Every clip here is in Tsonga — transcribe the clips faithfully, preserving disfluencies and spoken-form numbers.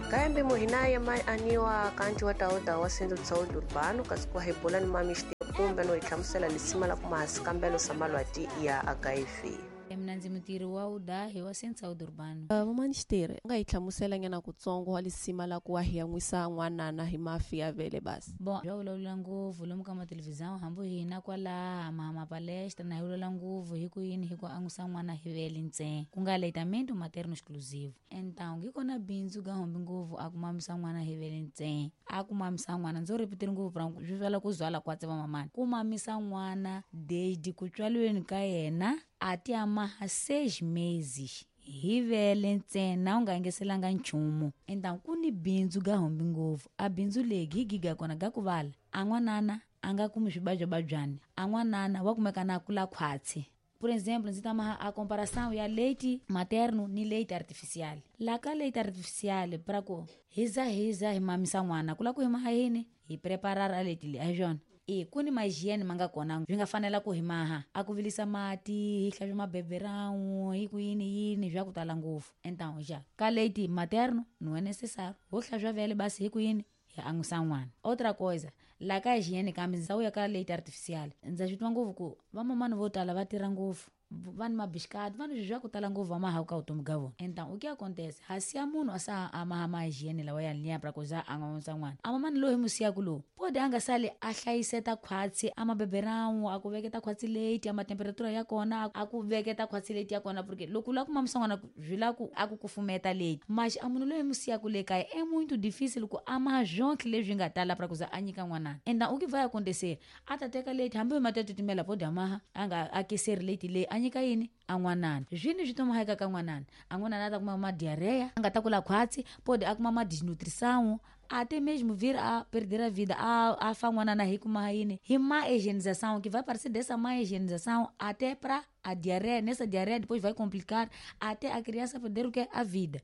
Kaembe muhinaya mai aniwa kanti wa tauda wa Centro de Saúde Urbano kasi ku hebola ni mamisti kumbe no ihlamusela lisima la kuma sikambelo sa malwati ya H I V. Mina ndzi mutirhi wa udahi wa Centro de Saúde Urbano. Vamanisteri nga hi hlamusela nyana kutsongo wa lisima la ku wa hi yan'wisa n'wanana hi mafi ya vele basi. Bon, bya vulavula ngopfu lomu ka mathelevhizão hambi hina kwalaha mahama palestra na hi vulavula ngopfu hi ku yini hi ku an'wisa n'wana hi vele ntsena ku nga aleitamento materno exclusivo. Então yi kona bindzu ga hombi ngopfu a ku mamisa n'wana hi vele ntsena a ku mamisa n'wana ndzo ripitiri ngopfu pra swi vula ku zwala kwa tseva mamani ku mamisa n'wana desde ku tswaliweni ka yena até amarra seis meses hi vele ntsena u nga engeselanga nchumu. Então ku ni bindzu ga hombi ngopfu a bindzu legi hi giga kona ga ku vala a n'wanana a nga kumi swibajwababyani a n'wanana wa kumeka na kula khwatsi. Por exemplo, ndzi tama a comparação ya leite materno ni leite artificial. La ka leite artificial pra ku hiza hiza hi mamisa n'wana ku la ku hi maha yini hi preparar a leite leyi a hi swona. E ku ni ma-hygiene ma nga kona swi nga fanela ku hi maha a ku vilisa mati hi hlantswa mabeberão hi ku yini yini swa ku tala ngopfu. Então já ka leite materno não é necessário ho hlantswa vele basi hi ku yini hi an'wisa n'wana. Outra coisa la ka hygiene kambe ndzi ya ka leite artificial ndza swi twa ngopfu ku vamamani vo tala va tirha ngopfu va ni mabixikati va ni swilo swa ku tala ngopfu va mahaku ka vutomi bya vona. Então o que acontece hasi ya munhu a sa a maha ma hygiene lawa ya liya pra ku za a n'wisa n'wana a mamani loyi hi mu siyaku lowu pode a nga sali a hlayiseta khwatsi a mabeberão a ku veketa khwatsi leti a matemperatura ya kona a ku veketa khwatsi leti ya kona porque loko u lava ku mamisa n'wana swi lava ku a ku kufumeta leti mas a munhu loyi hi mu siyaku le kaya é muito difícil ku a maha swonke leswi nga tala pra ku za a nyika n'wanana. Então o que vai acontecer a ta teka leti hambi hi mati ya titimela pode a maha a nga akiseri leti leyi a nyika yini a n'wanana swini swi tomaheka ka n'wanana a n'wanana a ta kuma ma diarreia a nga ta kula khwatsi pode a kuma ma desnutrição até mesmo vir a perder a vida a, a fa n'wanana hi kuma yini hi má higienização que vai parecer dessa má higienização até pra a diarreia nessa diarreia depois vai complicar até a criança perder o que a vida.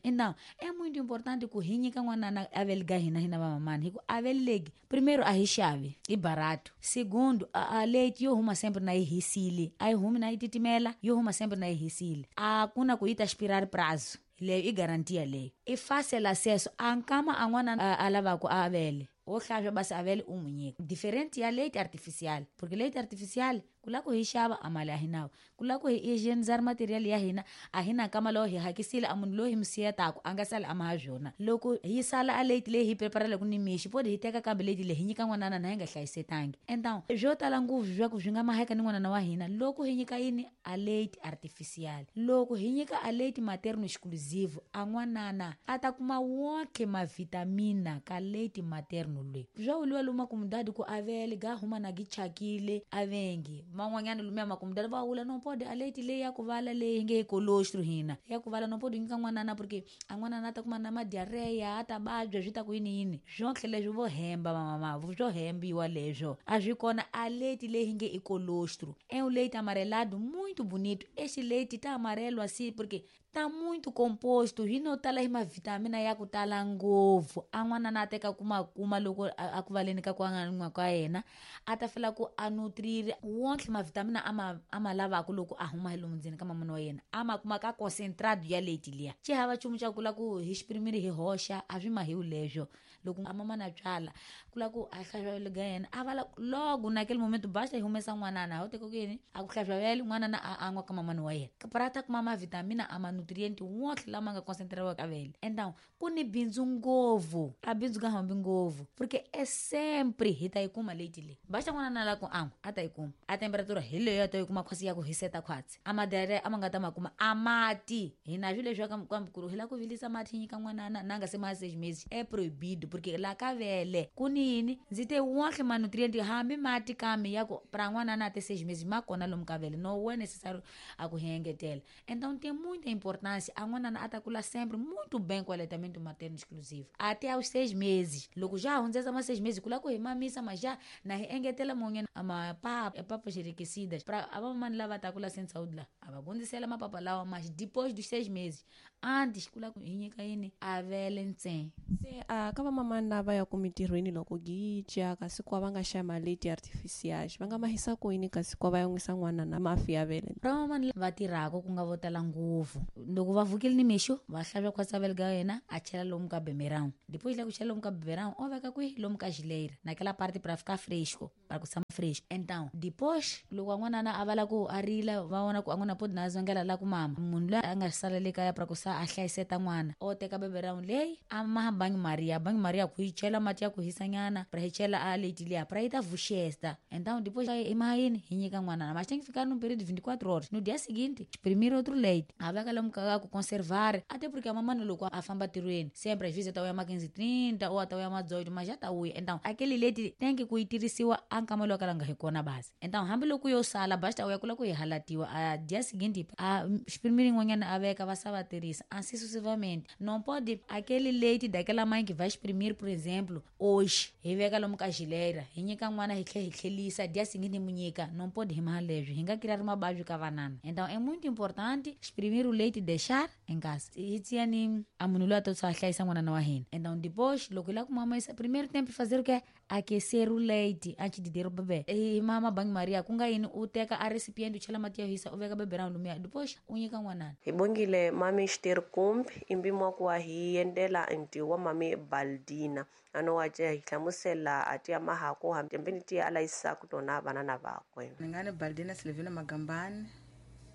Então é muito importante ku hi nyika n'wanana a vele ga hina hina vamamani hi ku a vele legi primeiro a hi xavi i barato segundo a, a leite yo huma sempre na yi hisile a yi humi na yi titimela yo huma sempre na yi hisile a ku na ku yi ta expirar prazo leyo i garantia leyo i fácil acesso a nkama a n'wana a lavaku a vele wo hlantswa basi a vele u n'wi nyika diferente ya leite artificial porque leite artificial ku lava ku hi xava a mali a hi nawo ku lava ku hi hygienizar material ya hina a hi na nkama lowo hi hakisile a munhu loyi hi mu siyetaku a nga sali a maha swona loko hi sala a leite leyi hi preparelaku ni mixi pode hi teka kambe leite leyi hi nyika n'wanana na hi nga hlayisetangi. Então swo tala ngopfu swa ku swi nga maheka ni n'wanana wa hina loko hi nyika yini a leite artificial loko hi nyika a leite materno exclusivo a n'wanana a ta kuma wonke mavitamina ka leite materno loyi swa vuliwa lomu makumudadi ku avele ga huma na gi chakile avengi man'wanyana lumiya makumudadi va vula no pode a leite leyi ya ku vala leyi nge hi colostro hina ya ku vala no pode nyika n'wanana porque a n'wanana a ta kuma na madiarreia a ta vabya swi ta ku yini yini swonke leswi vo hemba vamama swo hembiwa leswo a swi kona a leite leyi nge i colostro é um leite amarelado muito bonito este leite tá amarelo assim porque tá muito composto hi no tala hi mavitamina ya ku tala ngopfu a n'wanana a teka kuma kuma loko a ku valeni ka ku an'wa ka yena a ta fela ku a nutrire wonke mavitamina a ma a ma lavaku loko a huma hi lomu ndzeni ka mamana wa yena a ma kuma ka concentrado ya leite liya xi hava nchumu xa ku la ku hi xiprimiri hi hoxa a swi mahiwi leswo loko a mamana a tswala ku la ku a hlantswa vele ga yena a vala logo naquele momento basta hi humesa n'wanana ho teka ku yini a ku hlantswa vele n'wanana a an'wa ka mamana wa yena pra ta kuma mavitamina a ma nutriente wonke lama nga concentrado ka vele. Então ku ni bindzu ngopfu a bindzu ka hambi ngopfu porque é sempre hi ta yi kuma leite leyi basta n'wanana la ku an'wa a ta yi kuma a temperatura hi leyo a ta yi kuma khwatsi ya ku hiseta khwatsi a madiarreia a ma nga ta ma kuma a mati hina swilo leswi kambe ku ri hi lava ku vilisa mati hi nyika n'wanana na nga se ma seis meses é proibido porque la ka vele ku ni yini ndzi te wonke ma nutriente hambi mati kambe ya ku pra n'wanana a te seis meses ma kona lomu ka vele no é necessário a ku hi engetela. Então tem muita importância a n'wanana a ta kula sempre muito bem com o aleitamento materno exclusivo até aos seis meses loko já hundzesa ma seis meses ku lava ku hi mamisa mas já na hi engetela mun'wanyana a mapapa papas enriquecidas pra a vamamani lava ta kula sem saúde la A va gondisela mapapa lawa mas depois dos seis meses. Antes ku la ku hi nyika yini a vele ntsena. Se a ka vamamani lava ya ku mintirhweni loko gica kasi kwa va nga xa maleti artificiais va nga mahisa ku yini kasi kwa va yan'wisa n'wana na mafi ya vele. Ra vamamani va tirhaka ku nga vo tala ngopfu loko va vukile nimixo va hlavya khwatsa vele ka yena a chela lomu ka bemerão. Depois la ku chela lomu ka bemerão o veka kwihi lomu ka geleira naquela parte para ficar fresco, para ku tshama fresco. Então depois loko n'wanana a va la ku a rila va vona ku a n'wana podi na zongela la ku mama munhu loyi a nga sala le kaya para ku sa a hlayiseta n'wana o teka beberão leyi a maha banho maria banho maria ku yi chela mati ya ku hisanyana para hi chela a leite liya para yi ta vuxesta. Então depois i maha yini hi nyika n'wanana mas tem que ficar num período de vinte e quatro horas. No dia seguinte exprimir outro leite a veka lomu ka ku conservar até porque a mamãe loko a famba tirhweni sempre às vezes ta uya ma quinze e trinta ou até uya ma dezoito mas já ta uya. Então aquele leite tem que ku yi tirhisiwa a nkama lowu ka nga hi kona basi. Então hambiloko yo sala basta uya kula ku yi halatiwa a dia seguinte a exprimir yin'wanyana a veka va sa va tirhisa assim sucessivamente. Não pode aquele leite daquela mãe que vai exprimir, por exemplo, hoje hi veka lomu ka geleira hi nyika n'wana hi tlhe hi tlhelisa dia seguinte mu nyika não pode hi maha leswi hi nga criar mabavyo ka vanana. Então é muito importante exprimir o leite e deixar em casa. Hi tsiyani a munhu loyi a to a hlayisa n'wanana wa hina. Então depois loko hi lava ku mamisa primeiro tempo fazer o quê? Aquecer o leite antes de dar o bebê. E mama banho maria ku nga yini u teka a recipiente u chela mati ya hisa u veka beberão lumiya depois u nyika n'wanana. Hi bongile mami Xiteri kumbi i mpimo wa ku wa hi endlela nti wa mami Baldina ano wa ce hi hlamusela a tiya mahaku hambeni tiya a layisaku tona vanana vakwe. Ni nga ni Baldina Silvina Magambani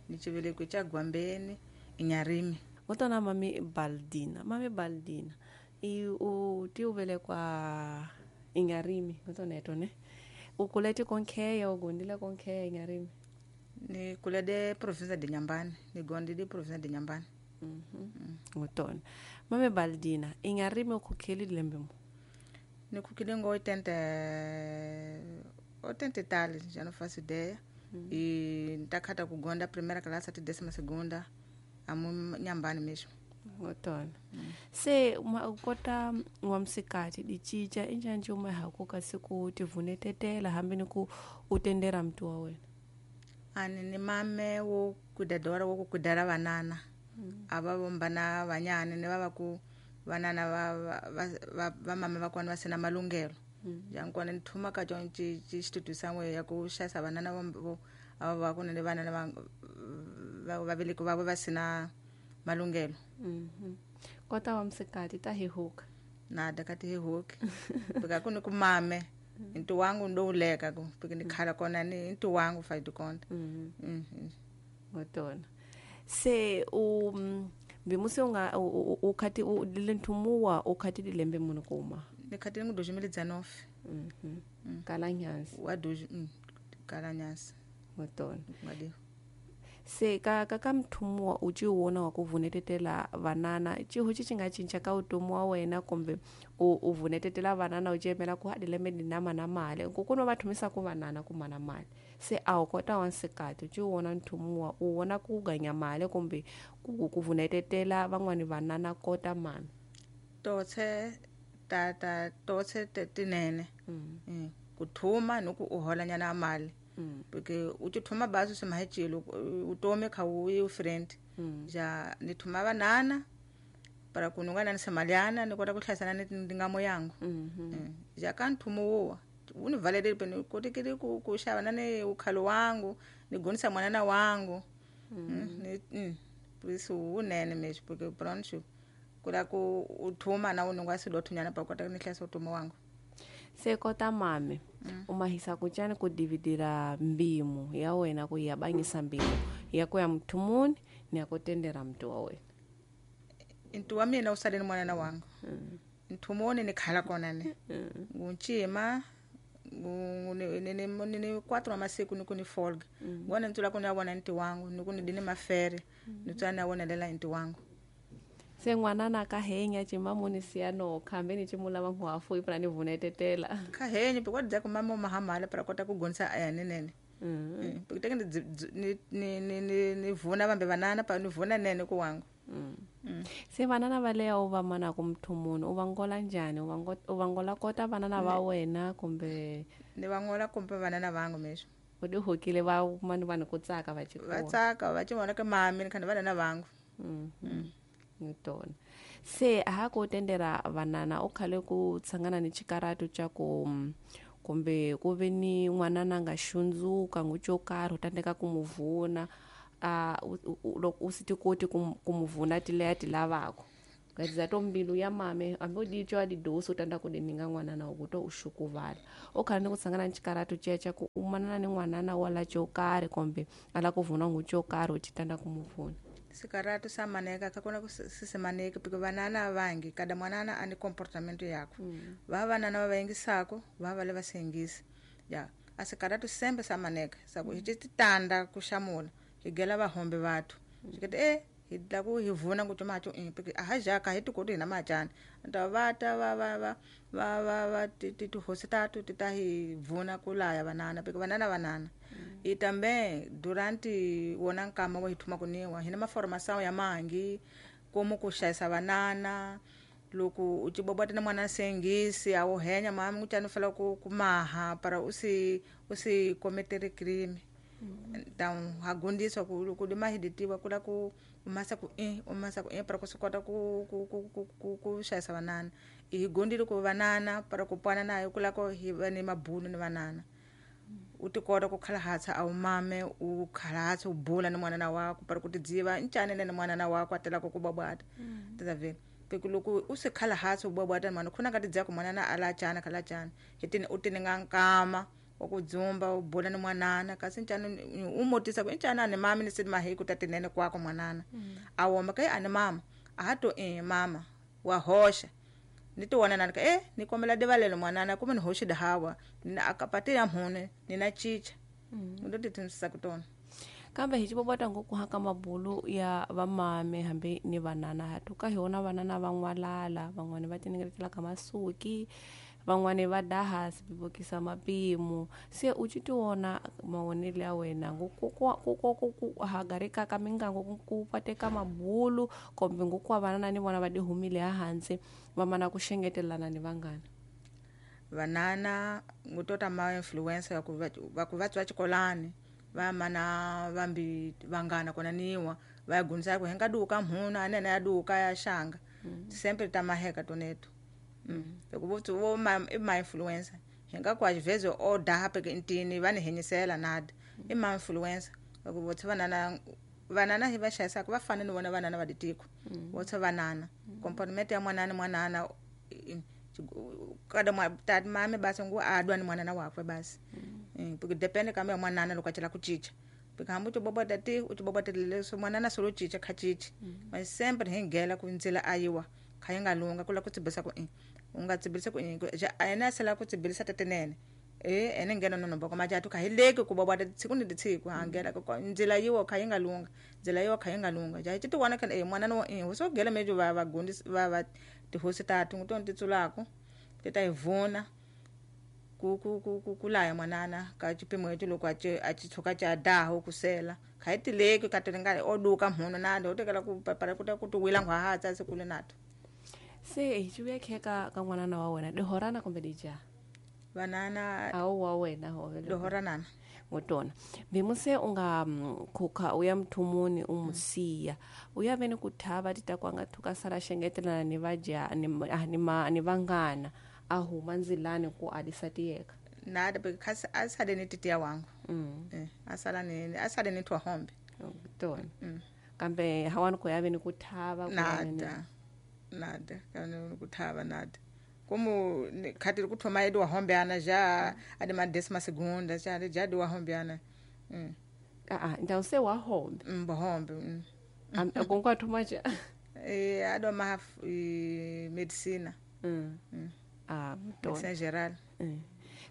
ni chivelekwe cha Gwambeni inyarimi. Ngotona mami Baldina mami Baldina i u ti u velekwa inyarimi ngotona etone u kulete konkheya u gondile konkheya inyarimi. Ni kulede province de Nyambani ni gondile province de Nyambani. Mhm. Ngotona mami Baldina inyarimi u khukheli lembe mo? Ni khukhile ngo oitenta oitenta e tal já não faço ideia. Mm. E ntakhata kugonda primeira classe até décima segunda amu Nyambani mesmo. Ngotona. Mm. Se uma ukota ngwamsikati dichicha injanje uma haku kasi ku tivunetetela hambeni ku utendera mntu wa wena. Ani ni mame wo kudadora wo kudara vanana. Mm. Ava vombana vanyani ni vava ku vanana va va va, va mame va kona va sina malunghelo. Mm. Jankona ni thuma ka tjon ci ci xitutu san'we ya ku xasa vanana vo ava va ku ni vanana va va va veleki va va sina malunghelo. Mhm. Kota wa msikati ta hi huka. Na da ka ti hi huki. Pika ku ni ku mame ntu wangu ndo uleka ku pika ni khala kona ni ntu wangu fa dikonta. Mhm. Mhm. Ngotona. Se u mbimusi unga ukhati u lentumuwa ukhati dilembe munhu kuma. Ni khati ngu dois mil e dezenove. Mhm. Kala nyansi. Wa dois kala nyansi. Ngotona. Ngadi. Se ka ka ka mthumuwa u ci wona wa ku vunetetela vanana ciho ci ci nga cinca ka utomi wa wena kumbe u u vunetetela vanana u cemela ku hadilembe ni nama na mali ku kuno va thumisa ku vanana ku mana mali se a wu kota wa nsikati u ci wona nthumuwa u wona ku ganya mali kumbe ku ku vunetetela van'wani vanana kota mani totse ta ta totse tinene. Mm. Mm. Ku thuma ni ku u holanyana mali. Mm. Porque u ti thuma bazi swi mahecilo u tome kha u yi friend. Mm. Ja ni thuma vanana para ku nunga na samaliana ni kota ku hlayisana ni ndingamo yangu. Mm -hmm. Mm. Ja ka nthumo wo u ni valele peni ku tikiri ku ku xava na ni ukhalo wangu ni gonisa mwanana wangu. Mm. Mm. Ni mm. Puisu unene mesmo porque pronto kula ku u thuma na u nunga swilo thunyana pa kota ni hlayisa utomi wangu. Se kota mame Mm. u mahisa ku cani ku dividira mbimu ya wena ku ya banyisa mbimu ya ku ya mthumuni ni ya ku tendera mntu wa wena. Ntu wa mina u sale ni mwanana wangu. Mm. Nthumuni ni khala kona ni. Mm. Nguncima ngu ni ni ni ni, ni quatro wa masiku ni ku ni folga. Mm. Ngona ntsula ku ni ya vona nti wangu ni ku ni dini mafere ni tswa ni ya vonelela nti wangu. Se n'wanana ka henya cimamuni siya no khambe ni cimulava nkhwafu ipra ni vunetetela. Kha henye pika dza ku mama mahamala para kota ku gonisa aya nenene. Mm. Mm. Pika teke ni ni ni ni ni, ni vuna vambe vanana pa ni vuna nene ku wangu. Mm. Mm. Se vanana va leya u va mana ku mthumuni u va ngola njhani u va ngo u va ngola kota vanana va wena kumbe Ni va ngola kumbe vanana vangu mesmo. U di hokile va mani vanhu ku tsaka va Va chikona. tsaka va ci vona ka mami ni khani vanana vangu. Mhm. Ni tona. Se ha ku tendera vanana u khale ku tshangana ni chikaratu cha ku kumbe ku ve ni n'wanana nga xundzuka ngu xo karhi u tandeka ku mu vuna a loko u si ti koti ku ku mu vuna tileya ti lavako ngatiza to mbilu ya mame hambi u di twa didosi u tanda ku di ninga n'wanana wa ku to u xukuvala u khale ni ku tshangana ni xikaratu ceca ku u manana ni n'wanana wa la xo karhi kumbe a la ku vuna ngu xo karhi u ti tanda ku mu vuna. Sikaratu sa maneka ka kona ku sisimaneki piko vanana vangi kada mwanana ani comportamento yakwe. Mm. Va vanana va va yingisako va va le va se yingisi ya a sikaratu sembe sa maneka sa ku hi ti tanda ku xamula hi gela vahombe vathu xikete e hi la ku hi vuna ku tuma i piko a ha jaka hi tikoti hina macana nta va ta va va va va va va ti ti tihosi tatu ti ta hi vuna ku laya vanana piko vanana vanana i tambe durante wona nkama wa hi thuma ku niwa hina maformação ya mangi como ku xayisa vanana loko u cibobota na mwana sengisi a wu henya mami ku cani fela ku ku maha para u si u si kometere crime. Então ha gundiswa ku loko di mahiditiwa ku la ku u masa ku i u masa ku i para ku swi kota ku ku ku ku ku ku xayisa vanana i hi gundile ku vanana para ku pwana nayo ku la ku hi va ni mabulu ni vanana u ti kota ku khalahatsa a wu mame u khalahatsa u bula ni mwanana wako para ku tidziva ncani ni mwanana wako a telaka ku babwata ta vhela peko loko u se khalahatsa u babwata ni mwana khuna ka tidziva ku mwanana a la cana khala cana hi tini u tininga nkama wa ku dzumba u bula ni mwanana kasi ncani u motisa ku ncani a ni mami ni sidi mahiku ta tinene kwako mwanana a woma ka a ni mama a ha to i mama wa hoxa ni ti wona nani ka e ni kombela divalelo mwanana kumbe ni hoxi dihawa ni akapati ya mhune ni na chicha ndo ti tshunxisa ku tona. Kambe hi xivovota ngopfu haka mabulu ya vamame hambi ni vanana ha tuka hi wona vanana va n'walala van'wani va tiningetela ka masuki van'wani va daha swi mapimo se u ci tiwona mavonelo ya wena ku ku ku ku hagarika ka mingango ku ku pateka mabulu kumbe nguku wa vanana ni vona va di humile hansi va mana ku xengetelana ni vanghana. Vanana ngutota ma influencer ku va va ku va tswa xikolani va mana vambi vangana kona niwa va ya gundisa ku henga duka mhuna anene ya duka ya xanga sempre ta maheka toneto. Loko vo vo ma i ma influencer hinga ku às o daha peke intini va ni henyisela nada i ma influencer loko vo tsha vanana vanana hi va xayisaka va fana ni vona vanana va ditiko vo tsha vanana comportment ya mwanana mwanana kada mwa tati mame basi ngu adwa ni mwanana wakwe basi porque depende kambe ya mwanana loko a cela ku cinca porque hambi u tibobota ti u tibobotelele so mwanana solo cinca kha cinci mas sempre hi nghela ku ndzila a yiwa kha yi nga lunga ku la ku tsibisa ku i u nga tsibisa ku i a yena sela ku tsibilisa tatinene e ene ngena no nomboko majatu kha hi leki ku bobota tsiku ni tsiku ha ngela ku ndzila yiwa kha yi nga lunga ndzila yiwa kha yi nga lunga ja ti wana kha e mwanana wa i ho so gela mejo va va gundisi va va tihosi tatu ngu tona ti tsulako ti ta hi vuna ku ku ku ku ku laya mwanana ka xipimo lexi loko a ci a ci tshuka ca daha ku sela kha hi tileki ka ti nga o duka mhunu na do tekela ku para ku ta ku ti wila nghwahatsa sikulu nato. Se hi xivuya kheka ka n'wanana wa wena dihorana kumbe dija vanana awu wa wena hove dihoranana ngotona bimuse u nga khukha u ya mthumuni u musiya u ya veni ku thava ti ta ku nga thuka sala xengetelana ni vaja ni ni ma ni vangana a huma ndzilani ku alisa tiyeka nada because a sale ni titiya wangu mm. eh asala ni asale ni twa hombe tona mm. Kambe hawani ku ya veni ku thava ku nada nada kana ku thava nada como khati ku thoma edu wa hombe ana já adi ma décima segunda já já do wa hombe ana mm. Ah ah então se wa hombe mm hombe mm. Konko thoma já eh ado ma medicina mm. mm. Ah tona medicina geral mm.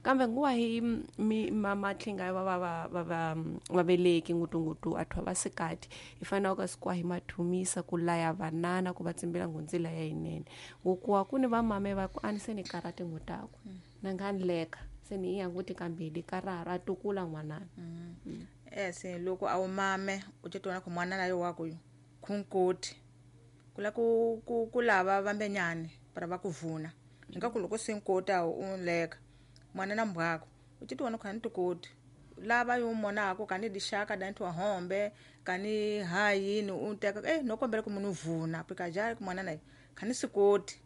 Kambe nguwa hi mi mama tlinga va va va va va vaveleki ngutungutu athwa va sikati hi fanele ka sikwa hi mathumisa ku laya vanana ku va tsimbela ngundzila ya yinene ngukuwa ku ni vamame va ku ani se ni karate ngutaku na nga leka se ni ya nguti kambili karara atukula n'wanana mm. mm. eh se loko a wu mame u titona ku mwanana yo wa ku khunkoti kula ku ku ku lava vambenyani para va ku vuna nga ku loko se nkota u leka mwanana mbwako u titona ku hani tikoti lava yo monako kani dixaka dantu wa hombe kani hayini u teka eh no kombela ku munhu vuna pika jari ku mwana naye khani sikoti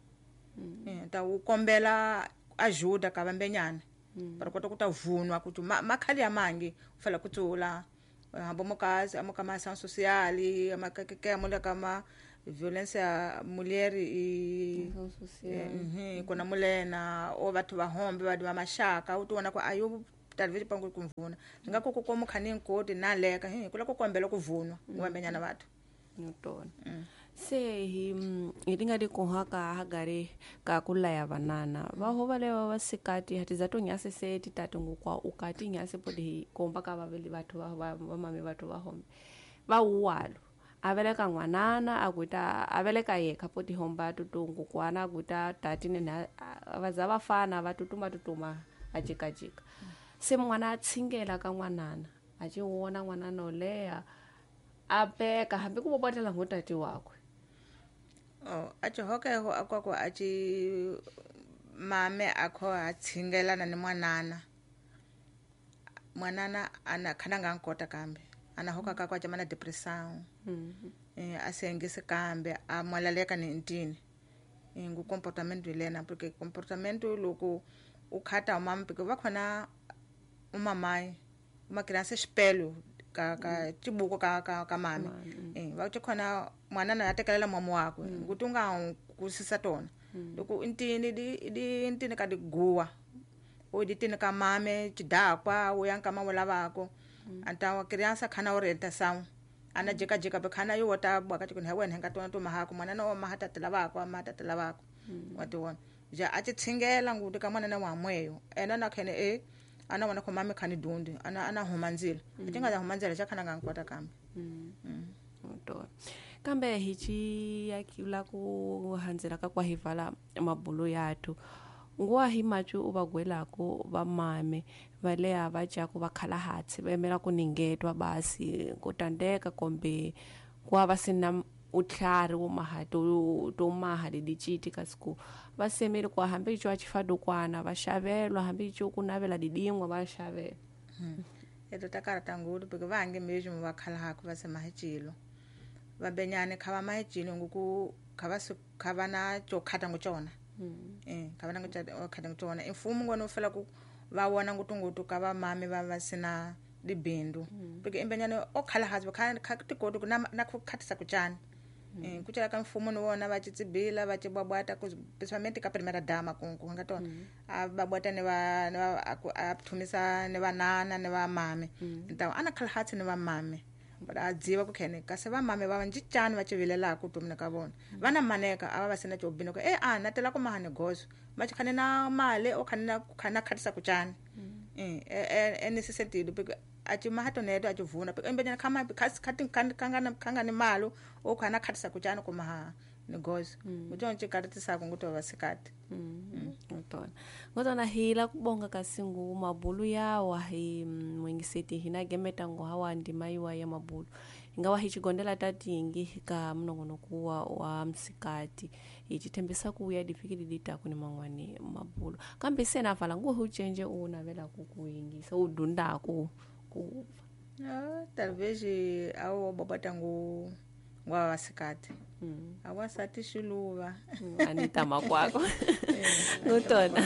eh ta u kombela ajuda ka vambenyana para kota kuta vunwa kuti makhali ya mangi ufela kutsula hambo mokazi amokama ação social amakeke amula kama violência mulher e mhm kona mulena o batho ba hombe ba ba mashaka u tiona ku ayo talvez pangu kumvuna nga ko ko mukhani nkoti na leka hi kula ku kombela ku vunwa ngwambenyana batho notona se hi hi tinga di kohaka hagare ka kulaya banana va ho vale va vasikati hatiza to nyase se titatu ngukwa ukati nyase podi hi komba ka vaveli batho va va mame batho va hombe va uwalo aveleka ngwanana akuita aveleka yekha poti homba tutungu kwana akuita tatine na vaza vafana vatutuma tutuma ajikajika se mwana atsingela ka ngwanana achiwona ngwanana oleya abeka hambi ku bobotela ngutati wakwe oh achihokeho akwako achi mame akho atsingelana ni mwanana mwanana ana khana nga nkota kambe ana hoka ka kwa chamana depression mm -hmm. eh asengise kambe amwalaleka ni ntini ngu comportamento lena porque comportamento loko ukhata umama porque va khona umamai uma criança espelho ka ka tibuko ka ka ka mame eh va khona mwana na atekelela mama wakwe nguti unga kusisa tona loko intini di di intini ka diguwa o di tini ka mame chidakwa o yanka mama lavako anta criança khana orientação ana jeka jeka be khana yo wota bwa ka tikuni wena nga tona to mahako mwana no mahata lavako mahata lavako wa tiwona ja a tshingela nguti ka mwana na wa mweyo ena na khene e ana wana ko mame khani dundi ana ana humanzila atinga za humanzila cha khana nga nkota kambe mm. Kambe hichi yakula ku hanzela ka kwa hivala mabulu yathu nguwa hi machu ubagwelako vamame valeya va jaku va khala hatsi va yimela ku ningetwa basi ku tandeka kombe kuwa va sina utlhari wo maha to to maha ledichiti kasi ku va semele ku hambi icho achifadukwana va xavelwa hambi icho ku navela didingwa va xavela eto takarata ngulu porque vange mesmo va khala haku va se mahicilo va benyane kha va mahicilo nguku kha va kha va na cho khata nguchona eh kha va na khata nguchona imfumo ngona ufela ku va wona ngutungutu ka va mame va va sina dibindu porque imbenyane o khala hazi kha kha tikoto na na ku khatisa kuchana eh kuchela ka mfumo ni wona va tsibila va tibwabwata ku principalmente ka primeira dama ku ku nga tona a babwata ne va ne va a thumisa ne vanana ne va mame então ana khala hatsi ne va mame ba dziva ku khene kasi va mame va njicani va civilelaka ku tumina ka vona vana maneka ava va sina chobino ku eh a na tela ku mahane gozo ma khane na male o khane na khana khatisa kuchana eh eh nesse sentido porque achi mahato neto achivuna porque embenyana khama khasi khati khangana khangana malo o khana khatisa kuchana ku maha negozo mujonje karatisa kunguto vasikati ngotona ngotona hila kubonga kasingu mabulu yawa hi mwengiseti hina gemeta ngo hawa ndima iwa ya mabulu ingawa hichigondela tatingi ka mnongono kuwa wa msikati ichithembisa kuya difikiri dita kuni mangwani mabulu kambe sena vala ngo huchenje unavela kukuyingisa udunda ku ku ah talvez awo babata ngo ngwa vasikati mm. Awasati xiluva anita makwako ngutona.